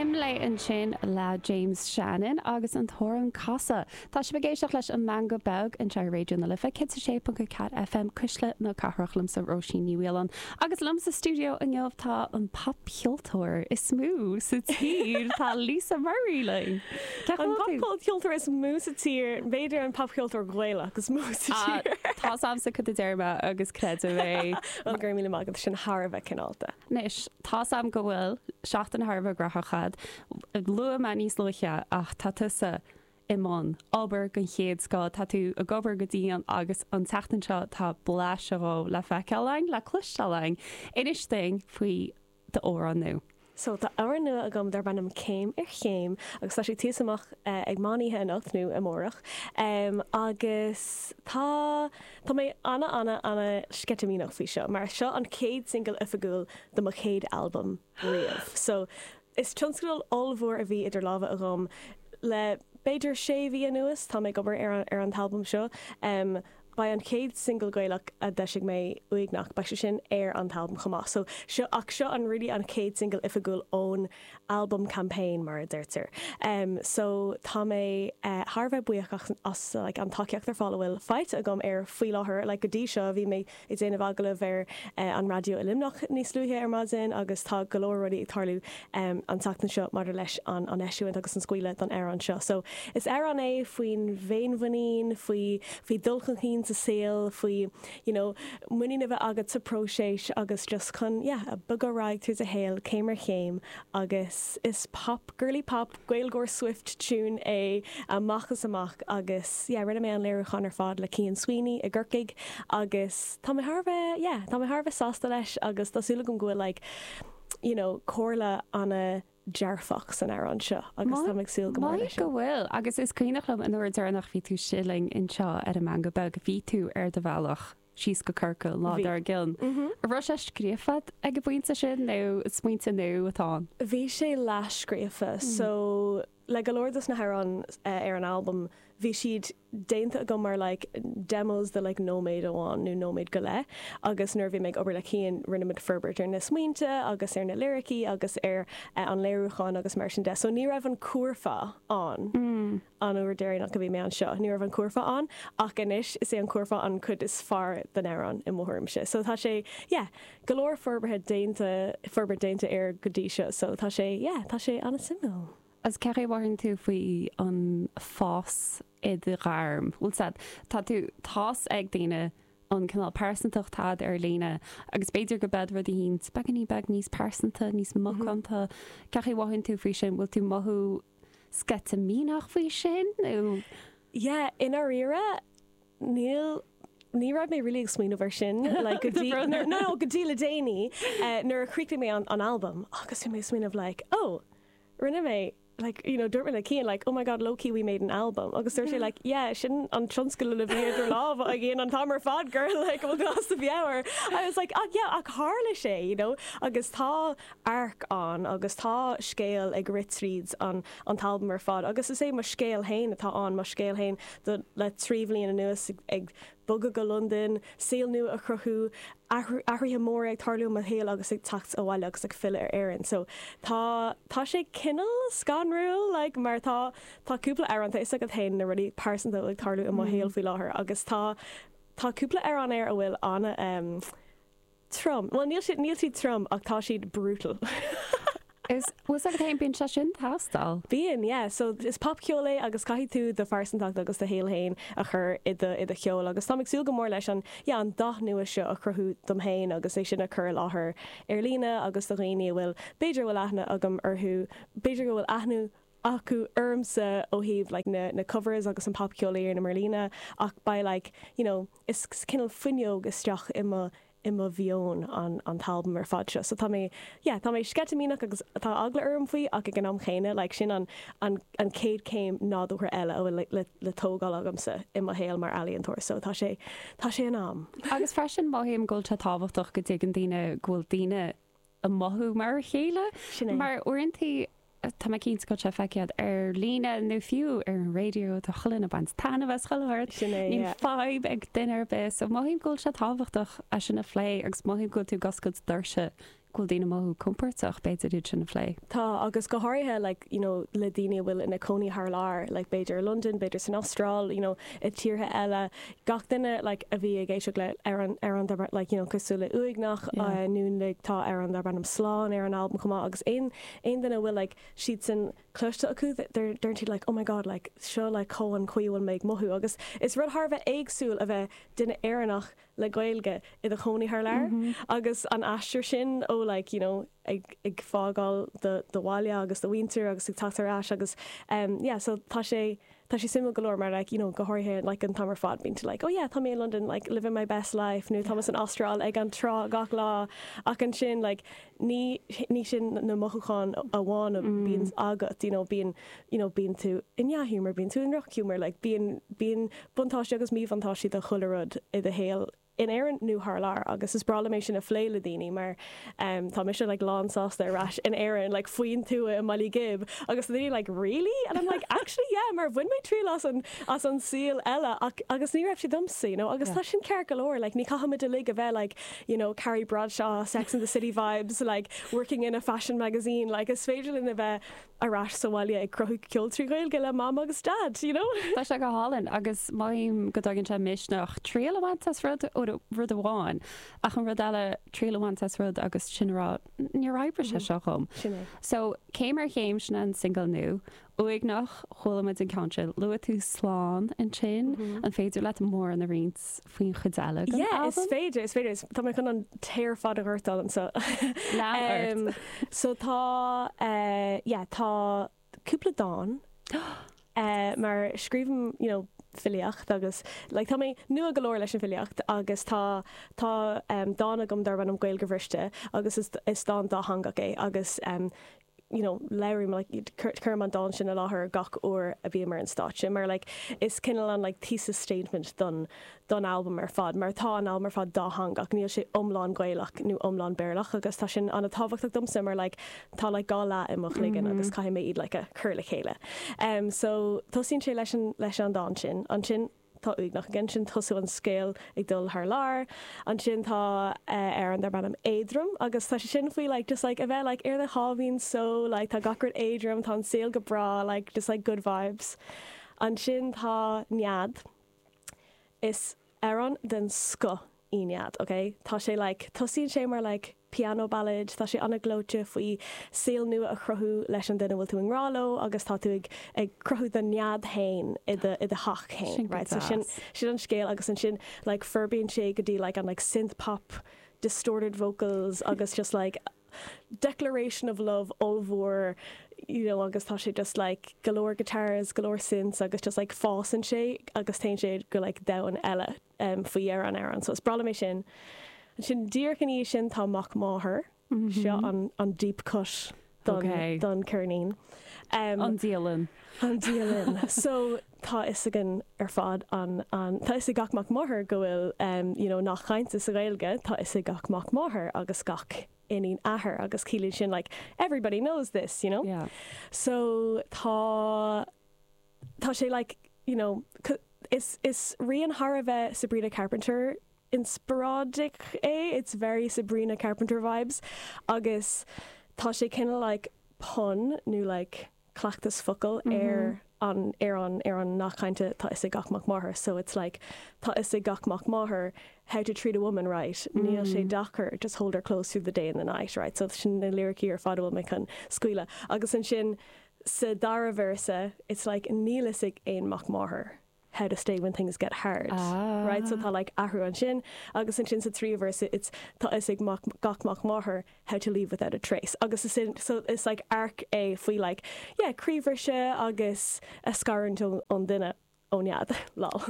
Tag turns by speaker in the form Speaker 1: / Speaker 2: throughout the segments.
Speaker 1: Imlé ansin le James Shannon agus an t-amhrán Casadh. Tá sibh ag éisteacht leis an Meangadh Beag anseo ar Raidió na Life 106.4 FM, Cuisle na Cathrach liomsa Róisín Ní Mhaoláin agus liom sa stiúideo inniu tá an popcheoltóir is mó sa tír, tá Lisa Murray linn.
Speaker 2: An popcheoltóir is mó sa tír, b'fhéidir an popcheoltóir Gaelach is mó sa tír.
Speaker 1: Tá's a'msa cad a deir mé agus creidim é.
Speaker 2: Bhuel, go raibh míle maith agat, sin thar a bheith cineálta.
Speaker 1: Anois, tá's a'm go bhfuil seachtain thar a bheith graitheach a'd. Luaigh mé níos luaithe ach tá tusa i mbun obair den chéad scoth, tá tú ag obair go dian agus an tseachtain seo tá blaiseadh dhó le feiceáil a'inn, le cloisteáil a'inn. Inis dúinn faoi d'amhrán nua.
Speaker 2: So, tá amhrán nua agam darb ainm Céim ar Chéim agus tá sé ag tíocht amach ag meán oíche anocht nó amárach. Agus tá, tá mé ana, ana, ana sceitimíneach faoi seo mar seo an chéad single oifigiúil do mo chéad albam riamh. So, is tionscadal ollmhór a bhí idir lámha agam le b'fhéidir sé mhí anuas, tá mé ag obair ar an, ar an t-albam seo. Beidh an chéad single Gaelach a d'eisigh mé, Uaigneach, beidh sé sin ar an t-albam chomh maith. So, seo, ach seo an really an chéad single oifigiúil ón album campaign mar a deirtear. Em, so tá mé eh thar a bheith buíoch as, as like an tacaíocht ar fad a bhfuil faighte agam air faoi láthair. Like go dtí seo bhí mé ag déanamh agallamh ar eh an raidió i Luimneach níos luaithe ar maidin agus tá go leor rudaí ag tarlú em an tseachtain seo maidir leis an an eisiúint agus an scaoileadh don amhrán seo. So is amhrán é faoin bhféinmhuinín, faoi faoi dul chun cinn sa saol, faoi you know muinín a bheith agat sa próiseas agus just chun yeah bogadh ar aghaidh tríd do shaol céim ar chéim agus is pop, girly pop, Gaeilgeoir Swift tune é amach is amach agus yeah rinne mé an léiriúchán ar fad le Cian Sweeney i gCorcaigh agus tá mé thar a bheith yeah tá mé thar a bheith sásta leis agus tá súil agam go bhfuil like you know comhairle ana dearfach san amhrán seo agus táim ag súil go mór leis
Speaker 1: sin. Go bhfuil, agus is cuimhneach liom an uair deireanach bhí tú istigh linn anseo ar an Meangadh Beag, bhí tú ar do bhealach síos go Corcaigh an lá dár gcionn. An raibh sé scríofa ag an bpointe sin nó smaointe nua atá ann?
Speaker 2: Bhí sé leathscríofa so le go leor dos na hamhráin ar an albam bhí siad déanta agam mar like demos de like nóiméad amháin nó nóiméad go leith agus nuair a bhí mé ag obair le Cian rinne muid forbairt ar na smaointe agus ar na liricí agus ar an léiriúchán agus mar sin de. So ní raibh an curfá ann an uair deireanach a bhí mé anseo, ní raibh an curfá ann ach anois is é an curfá an cuid is fearr den amhrán i mo thuairimse. So tá sé yeah go leor forbartha déanta, forbairt déanta air go dtí seo so tá sé yeah tá sé an-suimiúil.
Speaker 1: Agus cén chaoi a mhothaíonn tú faoi an fás i do ghairm? Bhfuil 's a'd, tá tú, tá's ag daoine an cineál pearsantacht atá a'd ar líne agus b'fhéidir go mbeadh rudaí éicint beagáinín beag níos pearsanta, níos macánta. Cén chaoi a mhothaíonn tú faoi sin? Bhfuil tú mothú sceitimíneach faoi sin nó?
Speaker 2: Yeah, i ndáiríre, níl, ní raibh mé really ag smaoineamh air sin, like go dtí, no, no, go dtí le déanaí, nuair a chríochnaigh mé an, an albam agus bhí mé ag smaoineamh like, oh, rinne mé like you know dúirt mé le Cian like oh my god low-key we made an album agus dúirt sé like yeah sin an tionscadal a bhí idir lámha againn an t-am ar fad girl like bhfuil tú as do mheabhair I was like ach yeah ach tharla sé you know agus tá arc ann agus tá scéal ag rith tríd an an t-albam ar fad agus is é mo scéal féin atá ann mo scéal féin do le 3 bhliain anuas ag bogadh go Londain, saol nua a chruthú, athruithe móra ag tarlú i mo shaol agus ag teacht abhaile agus ag filleadh ar Éirinn. So tá, tá sé cineál scanrúil like mar tá, tá cúpla amhrán, tá fhios agat féin na rudaí pearsanta a bhfuil ag tarlú i mo shaol faoi láthair agus tá, tá cúpla amhrán air a bhfuil ana em, Trom. Bhuel, níl siad, níl siad trom ach tá siad brutal.
Speaker 1: Is, bhfuil 's agat féin, bíonn sé sin ag teastáil.
Speaker 2: Bíonn, yeah. So, is popcheol é agus caithfidh tú do phearsantacht agus do shaol féin a chur i do, i do cheol agus táim ag súil go mór leis an, yeah, an dath nua seo a chruthú dom féin agus é sin a chur i láthair ar líne agus do dhaoine a bhfuil, b'fhéidir a bhfuil aithne agam orthu, b'fhéidir go bhfuil aithne acu ormsa ó thaobh like na, na covers agus an popcheol a dhéanaim ar líne ach beidh like, you know, is cineál fuinneog isteach i mo i mo mheon an an t-albam ar fad seo. So tá mé yeah tá mé sceitimíneach agus tá eagla orm faoi ach ag an am chéanna like sin an an an chéad chéim nádúrtha eile a bhfuil le le le tógáil agamsa i mo shaol mar ealaíontóir. So tá sé tá sé in am.
Speaker 1: Agus freisin mothaím go bhfuil sé tábhachtach go dtuigeann daoine go bhfuil daoine ag mothú mar a chéile.
Speaker 2: Sin é.
Speaker 1: Mar uaireanta, tá mé cinnte go bhfuil sé feicthe agat ar líne nó fiú ar an raidió, tá chuile dhuine ag baint taitneamh as chuile shórt.
Speaker 2: Sin é,
Speaker 1: Níl
Speaker 2: yeah.
Speaker 1: fadhb ag duine ar bith. So mothaím go bhfuil sé tábhachtach é sin a phlé agus mothaím go bhfuil tú ag oscailt doirse go bhfuil daoine ag mothú compordach b'fhéidir iad sin a phlé.
Speaker 2: Tá, agus go háirithe like you know le daoine a bhfuil ina cónaí thar lear, like b'fhéidir i Londain, b'fhéidir san Astráil, you know i tíortha eile, gach duine like a bhí ag éisteacht le amhrán amhrán darb like you know cosúil le Uaigneach yeah. nó like tá amhrán darb ainm Slán ar an albam chomh maith agus aon aon duine a bhfuil like siadsan cloiste acu deireann siad like oh my god like seo like chomh an chaoi a bhfuil mé ag mothú agus is rud thar a bheith éagsúil a bheith duine Éireannach le Gaeilge i do chónaí thar lear agus an aistear sin ó like you know ag ag fágáil do do bhaile agus do mhuintir agus ag teacht ar ais agus um yeah so tá sé tá sé suimiúil go leor mar like you know go háirithe like an t-am ar fad bíonn tú like oh yeah tá mé i London like living my best life nó tá mé san Astráil ag an trá gach lá ach ansin like ní ní sin na mothúcháin amháin a bíonn agat you know bíonn you know bíonn tú i ndea-ghiúmar bíonn tú i ndrochghiúmar like bíonn bíonn buntáistí agus míbhuntáistí do chuile rud i do shaol in Éirinn nó thar lear agus is breá liom é sin a phlé le daoine mar um tá mise like lán sásta ar ais in Éirinn like faoin tuath i mBaile Ghib agus tá daoine like really? And I'm like actually yeah mar bhain mé triail as an as an saol eile ach agus ní raibh sé domsa you know agus tá sin ceart go leor like ní chaithfimid uilig a bheith like you know Carrie Bradshaw Sex and the City vibes like working in a fashion magazine like is féidir linn a bheith ar ais sa bhaile ag cruthú ceol trí Ghaeilge le Mam agus Dad, you know?
Speaker 1: Tá sé go hálainn agus mothaím go dtugann sé misneach triail a bhaint as rud, rud amháin, ach an rud eile, triail a bhaint as rud agus sin a rá, níor oibrigh sé seo dhom.
Speaker 2: Sin é.
Speaker 1: So, Céim ar Chéim, sin an single nua. Uaigneach, chuala muid an ceann sin. Luaigh tú Slán ansin. An féidir leat mórán a roinnt faoin chuid eile den
Speaker 2: Yeah, is
Speaker 1: albam?
Speaker 2: féidir, is féidir. Tá mé chun an tae ar fad a dhoirteadh anseo.
Speaker 1: Lean ort.
Speaker 2: So tá, yeah, tá cúpla dán mar scríobhaim, you know, filíocht agus like tá mé nua go leor leis an bhfilíocht agus tá tá dán agam darb ainm Gaeilge Bhriste agus is is dán dátheangach é agus you know, labhraím, like, cuirim an dán sin i láthair gach uair a bhím ar an stáitse mar, like, is cineál an, like, thesis statement don, don albam ar fad mar tá an albam ar fad dátheangach, níl sé iomlán Gaelach nó iomlán Béarlach agus tá sin an-tábhachtach domsa mar, like, tá, like, dhá leath i mo chloigeann agus caithfidh mé iad, like, a chur le chéile. Um, so, tosaíonn sé leis an, leis an dán sin. Ansin, Tá Uaigneach again, sin tosú an scéal ag dul thar lear. Ansin tá amhrán darb ainm Éadrom agus tá sé sin faoi like just like a bheith like ar do sháimhín só like tá gach rud éadrom, tá an saol go breá like just like good vibes. Ansin tá Nead. Is amhrán den scoth í Nead, ok? Tá sé like tosaíonn sé mar like piano ballad, tá sé an-ghleoite faoi saol nua a chruthú leis an duine a bhfuil tú i ngrá leo agus tá tú ag ag cruthú do nead féin i do i do theach féin,
Speaker 1: Sin go
Speaker 2: right? So sin
Speaker 1: deas.
Speaker 2: sin an scéal agus ansin like forbraíonn sé go dtí like an like synth pop distorted vocals agus just like declaration of love ollmhór you know agus tá sé just like go leor guitars, go leor synths agus just like fásann sé agus téann sé go like domhan eile. faoi dheireadh an amhráin. So is breá liom é sin. Ansin díreach ina dhiaidh sin tá Mac Máthar. Seo an an deep cut don
Speaker 1: Ok.
Speaker 2: don cheirnín.
Speaker 1: An dialann.
Speaker 2: An dialann. So tá fhios againn ar fad an an tá fhios ag gach mac máthar go bhfuil um, you know, nath cainte sa Ghaeilge, tá fhios ag gach mac máthar agus gach iníon athar agus ciallaíonn sin like everybody knows this, you know?
Speaker 1: Yeah.
Speaker 2: So tá tá sé like you know is is rian thar a bheith Sabrina Carpenter inspioráideach é, it's very Sabrina Carpenter vibes agus tá sé cineál like pun nó like cleachtas focal ar an ar an ar an nath cainte tá fhios ag gach mac máthar so it's like tá fhios ag gach mac máthar how to treat a woman right níl sé deacair just hold her close through the day and the night right so sin na liricí ar fad a bhfuil mé chun scaoileadh agus ansin Sa dara véarsa, it's like níl fhios ag aon mac máthar how to stay when things get hard, right? So tá like athrú ansin agus ansin sa tríú véarsa it's tá fhios ag mac, gach mac máthar how to leave without a trace agus is sin, so is like arc é faoi like yeah croíbhriseadh agus a scarúint ón duine. Ó nead, lol.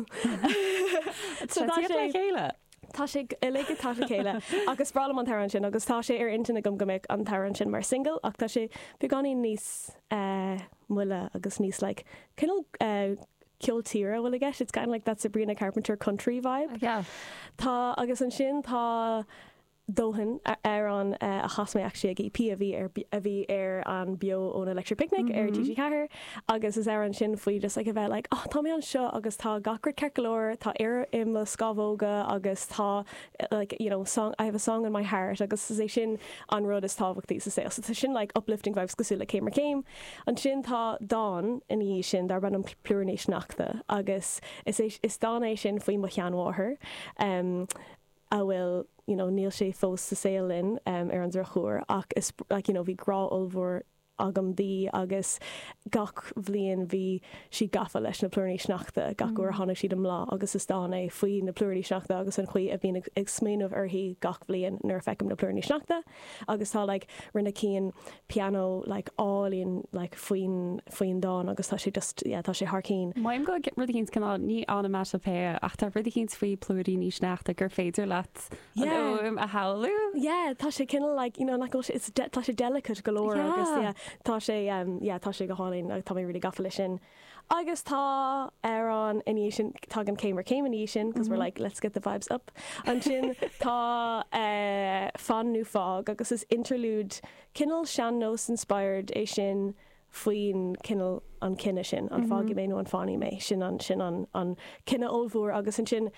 Speaker 1: So tá sé le chéile.
Speaker 2: Tá sé uilig ag teacht le chéile agus is breá liom an t-amhrán sin agus tá sé ar intinn agam go mbeadh an t-amhrán sin mar single ach tá sé beagáinín níos moille agus níos like cineál ceol tíre a bhfuil i gceist. It's kind of like that Sabrina Carpenter country vibe.
Speaker 1: Yeah.
Speaker 2: Tá agus ansin tá. Dóthain, amhrán a chas mé actually ag EP a bhí ar a bhí ar an Beo ón Electric Picnic ar TG4 agus is amhrán sin faoi just like a bheith like oh tá mé anseo agus tá gach rud ceart go leor, tá aer i mo scamhóga agus tá like you know song I have a song in my heart agus is é sin an rud is tábhachtaí sa saol. So tá sin like uplifting vibes cosúil le Céim ar Chéim. Ansin tá dán ina dhiaidh sin darb ainm Plúiríní Sneachta agus is é is dán é sin faoi mo sheanmháthair. Um, a bhfuil, you know, níl sé fós sa saol linn ar an drochuair ach is, like, you know, bhí grá ollmhór agam di agus gach bhliain bhí sí gafa leis na plúiríní sneachta gach uair a tháinig siad i mbláth agus is dán é faoi na plúiríní sneachta agus an chaoi a bhím ag smaoineamh uirthi gach bhliain nuair a feicim na plúiríní sneachta agus tá, like, rinne Cian pianó, like, álainn, like, faoin, faoin dán agus tá sé just, yeah, tá sé thar cinn.
Speaker 1: Maím go bhfuil rud eicínt cineál, ní onomatopoeia, ach tá rud eicínt faoi plúiríní sneachta gur féidir leat an
Speaker 2: Yeah.
Speaker 1: fhuaim a shamhlú.
Speaker 2: Yeah, tá sé cineál like, you know, nach bhfuil sé, it's de, tá sé delicate go leor
Speaker 1: Yeah.
Speaker 2: agus yeah, tá sé, um, yeah, tá sé go hálainn agus tá mé really gafa leis sin. Agus tá amhrán ina dhiaidh sin, tagann Céim ar Chéim ina dhiaidh sin, because we're like, let's get the vibes up. Ansin tá eh, Fan nó Fág agus is interlude cineál sean-nós inspired é sin faoin cineál an cinneadh sin, an fágfaidh mé nó an fanfaidh mé, sin an, sin an, an cinneadh ollmhór agus ansin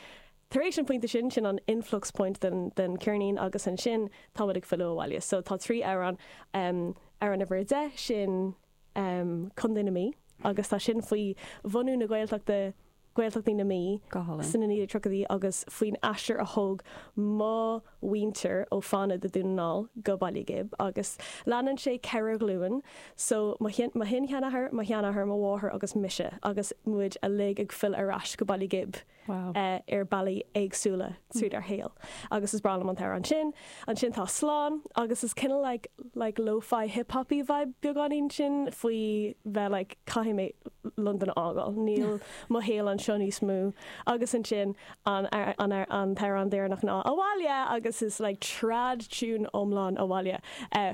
Speaker 2: tar éis an pointe sin, sin an influx point den, den ceirnín agus ansin táimid ag filleadh abhaile. So tá 3 amhrán, amhrán uimhir 10, sin Contae na Mí agus tá sin faoi bhunú na Gaeltachta, Gaeltachtaí na Mí
Speaker 1: Go hálainn.
Speaker 2: sna 1930idí agus faoin aistear a thóg mo mhuintir ó Fánaid i Dún na nGall go Baile Ghib agus leanann sé 4 ghlúin so mo mo shin-sheanathair, mo sheanathair, mo mháthair agus mise agus muid uilig ag filleadh ar ais go Baile Ghib.
Speaker 1: Wow.
Speaker 2: ar bealaí éagsúla tríd ár shaol agus is breá liom an t-amhrán sin. Ansin tá Slán agus is cineál like like lo-fi hip-hop-y vibe beagáinín sin faoi bheith like caithfidh mé Londain a fhágáil, níl mo shaol anseo níos mó agus ansin an an an t-amhrán deireanach ná Abhaile agus is like trad tune iomlán Abhaile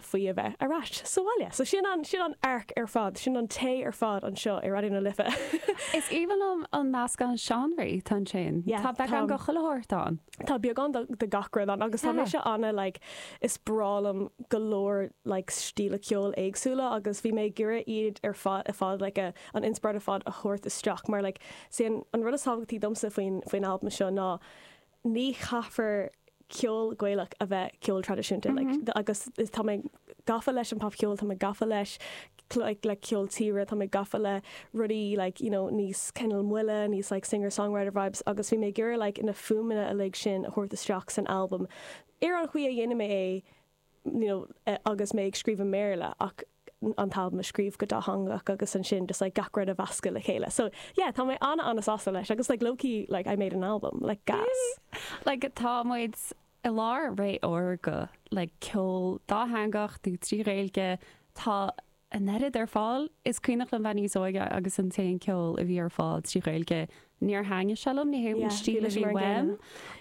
Speaker 2: faoi a bheith ar ais sa bhaile. So sin an sin an arc ar fad, sin an tae ar fad anseo i Raidió na Life.
Speaker 1: Is aoibhinn liom an meascán seánraí atá ansin.
Speaker 2: Yeah,
Speaker 1: Tá beagán
Speaker 2: tá
Speaker 1: de chuile shórt ann.
Speaker 2: Tá beagán de de gach rud ann agus tá
Speaker 1: Yeah.
Speaker 2: mise ana like is breá liom go leor like stíle ceoil éagsúla agus bhí mé ag iarraidh iad ar fad ar fad like a an inspioráid ar fad a thabhairt isteach mar like is é an an rud is tábhachtaí domsa faoin faoin albam seo ná ní chaithfear ceol Gaelach a bheith ceol traidisiúnta like agus is tá mé gafa leis an popcheol, tá mé gafa leis like le ceol tíre, tá mé gafa le rudaí like you know níos cineál moille, níos like singer songwriter vibes agus bhí mé ag iarraidh like na fuaimeanna uilig sin a thabhairt isteach san albam ar an chaoi a dhéanfaidh mé é you know, agus mé ag scríobh i mBéarla ach an t-albam a scríobh go dátheangach agus ansin just like gach rud a mheascadh le chéile. So yeah, tá mé an-an-sásta leis agus like low-key like I made an album, like gas.
Speaker 1: Like tá muid i lár ré órga like ceol dátheangach nó trí Ghaeilge, tá an oiread ar fáil. Is cuimhneach liom bheith níos óige agus an t-aon ceol a bhí ar fáil trí Ghaeilge, níor thaitnigh sé liom, ní hé an stíl a bhí uaim.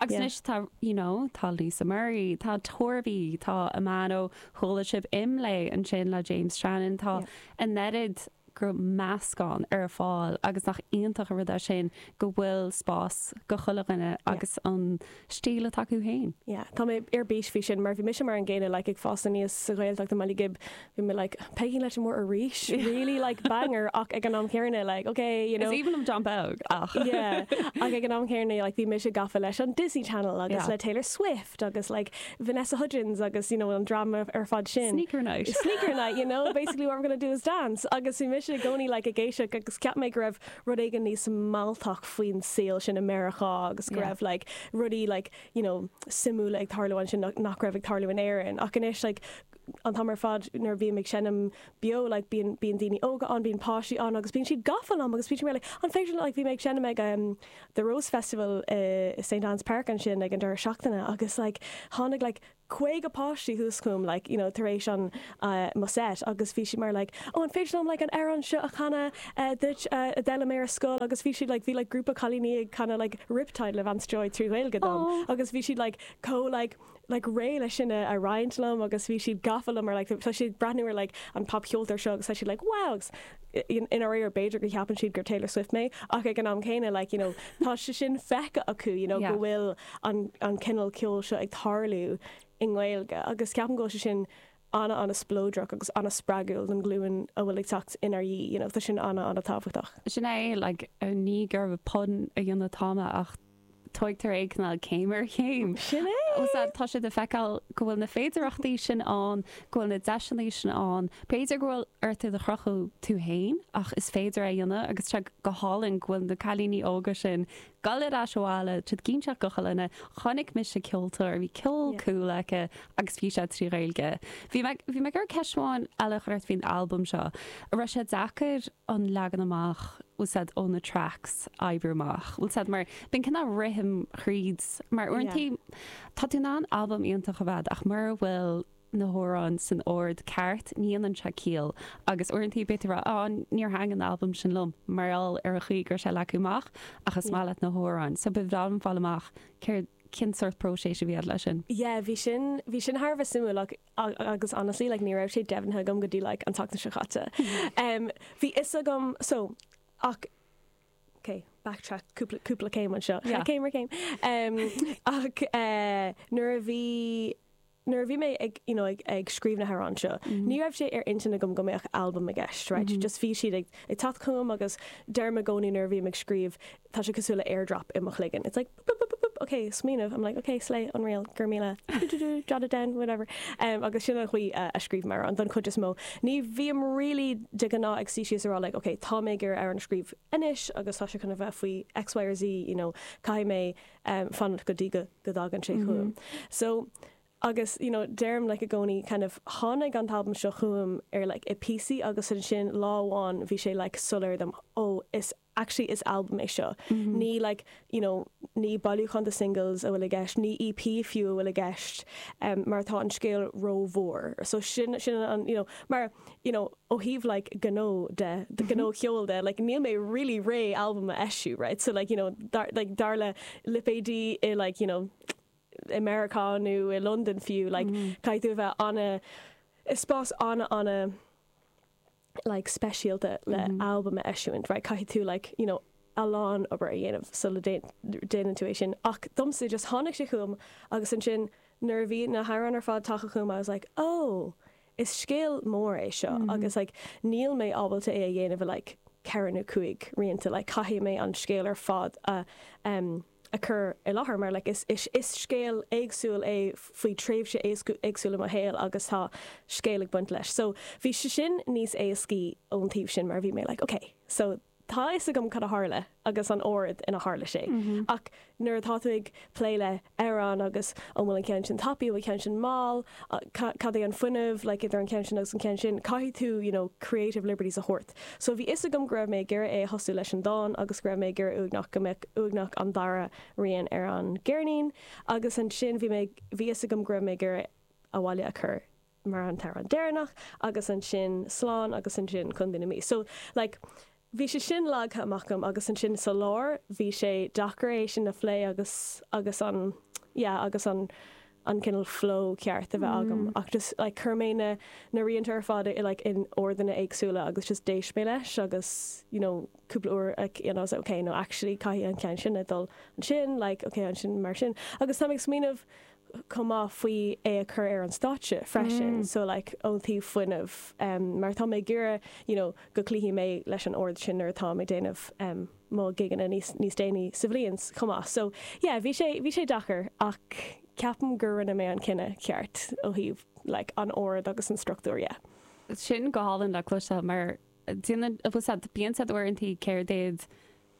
Speaker 1: Agus anois tá, you know, tá Lisa Murray, tá Torby, tá Amano, chuala sibh Imlé ansin le James Shannon, tá an oiread go meascán ar fáil agus nach iontach an rud é sin go bhfuil spás go chuile dhuine agus an stíl atá acu féin.
Speaker 2: Yeah, tá mé ar bís faoi sin mar bhí mise mar an gcéanna like ag fás aníos sa Ghaeltacht i mBaile Ghib bhí mé like Peigín Leitir Móir arís really like banger ach ag an am céanna like okay you know
Speaker 1: Is aoibhinn liom John Beag ach
Speaker 2: yeah ach ag an am céanna like bhí mise gafa leis an Disney Channel agus
Speaker 1: Yeah.
Speaker 2: le Taylor Swift agus like Vanessa Hudgens agus you know an dream ar fad sin.
Speaker 1: Sneaker night.
Speaker 2: Sneaker night, you know, basically what we're gonna do is dance agus bhí mise i gcónaí like ag éisteacht agus cheap mé go raibh rud éigin níos mealltach faoin saol sin i Meiriceá agus go
Speaker 1: Yeah.
Speaker 2: raibh like rudaí like you know suimiúla ag tarlú ansin nach, nach raibh ag tarlú in Éirinn ach anois like an t-am ar fad nuair a bhím ag seinm beo like bíonn bíonn daoine óga ann bíonn páistí ann agus bíonn siad gafa liom agus bíonn siad mar like an féidir like bhí mé ag seinm ag um, the Rose Festival i uh, St Anne's Park ansin ag an deireadh seachtaine agus like tháinig like 50 páistí thuas chugam like you know tar éis an uh, mo set agus bhí siad mar like oh an féidir liom like an amhrán seo a chanadh uh, duit uh, a d'fhoghlaim mé ar scoil agus bhí siad like bhí like grúpa cailíní ag canadh like Riptide le Vance Joy trí Ghaeilge dom
Speaker 1: Aw.
Speaker 2: agus bhí siad like chomh like. like réidh leis sin a roinnt liom agus bhí siad gafa liom mar like tá siad ag breathnú ar like an popcheoltóir seo agus tá siad like wow agus i ndáiríre b'fhéidir go cheapann siad gur Taylor Swift mé ach ag an am céanna like you know tá sé sin feicthe acu you know go bhfuil an an cineál ceoil seo ag tarlú i nGaeilge agus ceapaim go bhfuil sé sin ana-ana-spleodrach agus ana-spreagúil don ghlúin a bhfuil ag teacht inár dhiaidh, you know, tá sin ana-ana-tábhachtach.
Speaker 1: Sin é, like, ní gur pun a dhéanamh atá mé ach tóigtear é cineál céim ar chéim.
Speaker 2: Sin é!
Speaker 1: Tá sé le feiceáil go bhfuil na féidearthachtaí sin ann, go bhfuil na deiseanna sin ann. B'fhéidir go bhfuil ort iad a chruthú tú féin ach is féidir é a dhéanamh agus tá sé go hálainn go bhfuil na cailíní óga sin Dul ar ais abhaile, siad ag inseacht do chuile dhuine, chonaic mise ceoltóir, bhí ceol cool aici agus bhí sé trí Ghaeilge. Bhí mé, bhí mé ag iarraidh ceist amháin eile a chur ort faoin albam seo. An raibh sé deacair an leagan amach, bhfuil 's a'd, ó na tracks a oibriú amach? Bhfuil 's a'd, mar bíonn cineál rithim thríd, mar uaireantaí tá tú in ann albam iontach a bheith ach mura bhfuil na hamhráin san ord ceart, ní dhéanann sé ciall agus uaireanta beidh tú ag rá á níor thaitin an albam sin liom mar gheall ar an chaoi go raibh sé leagtha amach ach is maith leat na hamhráin. So ba bhreá liom fáil amach céard, cén sórt próiseas a bhí agat leis sin.
Speaker 2: Yeah, bhí sin, bhí sin thar a bheith suimiúil ach, agus honestly like ní raibh sé deimhnithe agam go dtí like an tseachtain seo caite. Um, bhí fhios agam, so, ach ok, backtrack cúpla, cúpla céim anseo. Yeah. Céim ar chéim. Um, ach eh, nuair a bhí nuair a bhí mé ag, you know, ag, ag scríobh na hamhráin seo, ní raibh sé ar intinn agam go mbeadh albam i gceist, right? Just bhí siad ag, ag teacht chugam agus deirim i gcónaí nuair a bhím ag scríobh, tá sé cosúil le airdrop i mo chloigeann. It's like boop, boop, boop, boop, ok, smaoineamh, I'm like, ok, slay, unreal, go raibh míle, do, do, do, jot it down, whatever. Um, agus sin an chaoi a, a scríobhaim amhráin don chuid is mó. Ní bhím really de ghnáth ag suí síos a rá like, ok, tá mé ag iarraidh amhrán a scríobh anois agus tá sé chun a bheith faoi X, Y or Z, you know, caithfidh mé um, fanacht go dtí go, go dtagann sé chugam. So, agus, you know, deirim like i gcónaí kind of tháinig an t-albam seo chugam ar like i píosaí agus ansin lá amháin bhí sé like soiléir dom, oh, is actually is albam é seo. Ní like, you know, ní bailiúchán de singles a bhfuil i gceist, ní EP fiú a bhfuil i gceist, um, mar tá an scéal rómhór. So sin, sin an, you know, mar, you know, ó thaobh like gnó de, gnó ceoil de, like níl mé really réidh albam a eisiú, right? So like, you know, dar, like dar le lipéidí i like, you know, i Meiriceá nó i Londain fiú, like caithfidh tú a bheith ana, i spás ana ana like speisialta le albam a eisiúint, right? Caithfidh tú like, you know, a lán obair a dhéanamh sula déanann tú é sin. Ach domsa just tháinig sé chugam agus ansin nuair a bhí na hamhráin ar fad tagtha chugam I was like, oh, Is scéal mór é seo agus like níl mé ábalta é a dhéanamh i like ceithre nó cúig rianta like caithfidh mé an scéal ar fad a em a chur i láthair mar like is is is scéal éagsúil é faoi tréimhse éagsúil i mo shaol agus tá scéal ag baint leis. So bhí sé sin níos éascaí ón taobh sin mar bhí mé like ok so Tá a fhios agam cad a tharla agus an ord ina tharla sé. Ach nuair atá tú ag plé le amhrán agus an bhfuil an ceann sin tapaidh, an bhfuil an ceann sin mall, cad é an fuinneamh like idir an ceann sin agus an ceann sin, caithfidh tú you know creative liberties a thabhairt. So bhí fhios agam go raibh mé ag iarraidh é a thosú leis an dán agus go raibh mé ag iarraidh uaigneach, go mbeadh uaigneach an dara rian ar an gceirnín agus ansin bhí mé, bhí fhios agam go raibh mé ag iarraidh abhaile a chur. mar an t-amhrán deireanach agus ansin slán agus ansin Contae na Mí. So like bhí sé sin leagtha amach agam agus ansin sa lár bhí sé deacair é sin a phlé agus agus an yeah agus an an cineál flow ceart a bheith agam ach just like chuir mé na na rianta ar fad i like in ordanna éagsúla agus just d'éist mé leis agus you know cúpla uair like you know I was like okay no actually caithfidh an ceann sin a dul ansin like okay ansin mar sin agus táim ag smaoineamh chomh maith faoi é a chur ar an stáitse freisin so like ón taobh fuinnimh mar tá mé ag iarraidh you know go cloífidh mé leis an ord sin nuair atá mé ag déanamh mo gigeanna níos níos déanaí sa bhliain chomh maith so yeah bhí sé bhí sé deacair ach ceapaim gur rinne mé an cinneadh ceart ó thaobh like an ord agus an struchtúr yeah.
Speaker 1: Sin go hálainn le cloisteáil mar déanann bhfuil 's a'd bíonn siad uaireantaí céard iad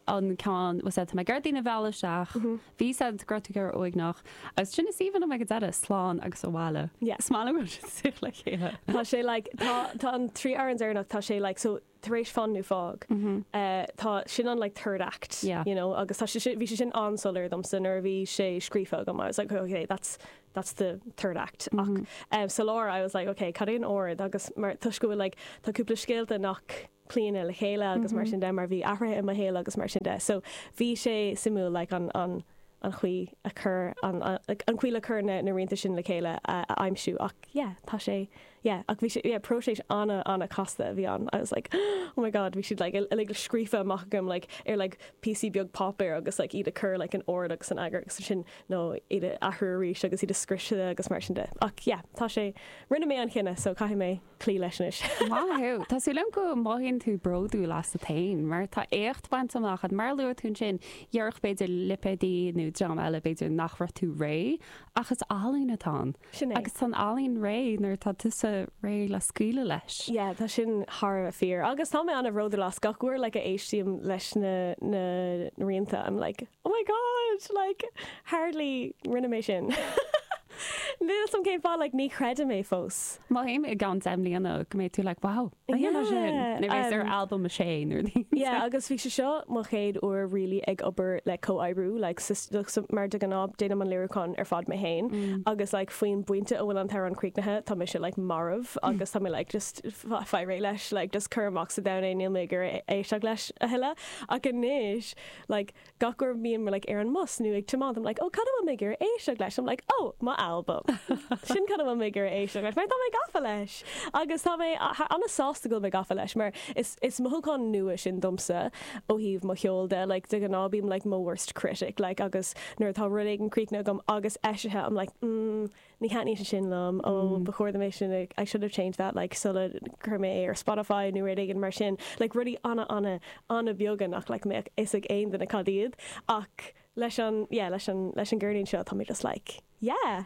Speaker 1: an ceann, bhfuil 's a'd, tá mé ag iarraidh daoine a mhealladh isteach, bhí 's a'd go raibh tú ag iarraidh uaigneach, agus sin is aoibhinn liom ag an deireadh, slán agus abhaile.
Speaker 2: Yeah.
Speaker 1: Is maith liom go bhfuil siad istigh le chéile.
Speaker 2: Tá sé like, tá, tá an trí amhrán deireanach, tá sé like, so tar éis Fan nó Fág, eh, tá, sin an like third act,
Speaker 1: Yeah.
Speaker 2: you know, agus tá sé sin, bhí sé sin an-soiléir domsa nuair a bhí sé scríofa agam, I was like, okay, that's, that's the third act. Ach, eh, sa lár, I was like, okay, cad é an ord agus mar, toisc go bhfuil like, tá cúpla scéalta nach, cloíonn le chéile agus mar sin de mar bhí athruithe i mo shaol agus mar sin de. So bhí sé suimiúil like an an. an chaoi a cur an an chaoi le cur na na rianta sin le chéile a a aimsiú ach yeah tá sé yeah ach bhí sé yeah próiseas ana ana casta a bhí ann I was like oh my god bhí siad like uilig scríofa amach agam like ar like píosaí beag páipéir agus like iad a cur like in ord agus in eagar agus ansin nó iad a athrú arís agus iad a scriosadh agus mar sin de ach yeah tá sé rinne mé an chinneadh so caithfidh mé cloí leis anois.
Speaker 1: Maith thú. Tá súil agam go mothaíonn tú bródúil asat féin mar tá éacht bainte amach agat. Mar a luaigh tú ansin, déarfadh b'fhéidir lipéadaí nó dream eile b'fhéidir nach raibh tú réidh ach is ealaín atá ann.
Speaker 2: Sin é.
Speaker 1: Agus tá an ealaín réidh nuair atá tusa réidh le scaoileadh leis.
Speaker 2: Yeah, tá sin thar a bheith fíor. Agus tá mé an-bhródúil as. Gach uair like a éistím leis na na rianta I'm like oh my god like hardly rinne mé sin. Níl 'fhios a'm cén fáth like ní chreidim é fós.
Speaker 1: Mothaím i gceann 10 mbliana go mbeidh tú like wow, rinne mé sin! Nuair a bheas ar albam a sé nó rud éigin.
Speaker 2: Yeah agus bhí sé seo mo chéad uair really ag obair le comhoibriú like so mar de ghnáth déanaim an léiriúchán ar fad mé féin agus like faoin bpointe a bhfuil an t-amhrán críochnaithe tá mise like marbh agus tá mé like just faigh réidh leis like just cuir amach sa domhan é níl mé ag iarraidh éisteacht leis a thuilleadh ach anois like gach uair a bhíonn mé like ar an mbus nó ag tiomáint I'm like oh cad a bhfuil mé ag iarraidh éisteacht leis? I'm like oh mo albam. Sin cad a bhfuil mé ag iarraidh éisteacht leis mar tá mé gafa leis agus tá mé an-sásta go bhfuil mé gafa leis mar is is mothúchán nua sin domsa ó thaobh mo cheoil de like de ghnáth bím like mo worst critic like agus nuair atá rud éigin críochnaithe agam agus eisithe I'm like mm ní thaitníonn sé sin liom, ó ba chóir dom é sin a, I should have changed that like sula chuir mé é ar Spotify nó rud éigin mar sin, like rudaí ana ana ana bheaga nach like mbeadh fhios ag aon duine cad iad ach leis an yeah leis an leis an gceirnín seo tá mé just like yeah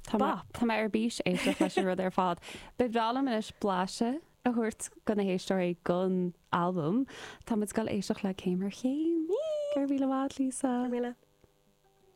Speaker 1: Tá mé bop. tá mé ar bís éisteacht leis an rud ar fad. Ba bhreá liom anois blaiseadh a thabhairt do na héisteoirí den albam. Tá muid ag dul éisteacht le Céim ar Chéim. Go raibh míle maith, Lisa.
Speaker 2: Go raibh míle.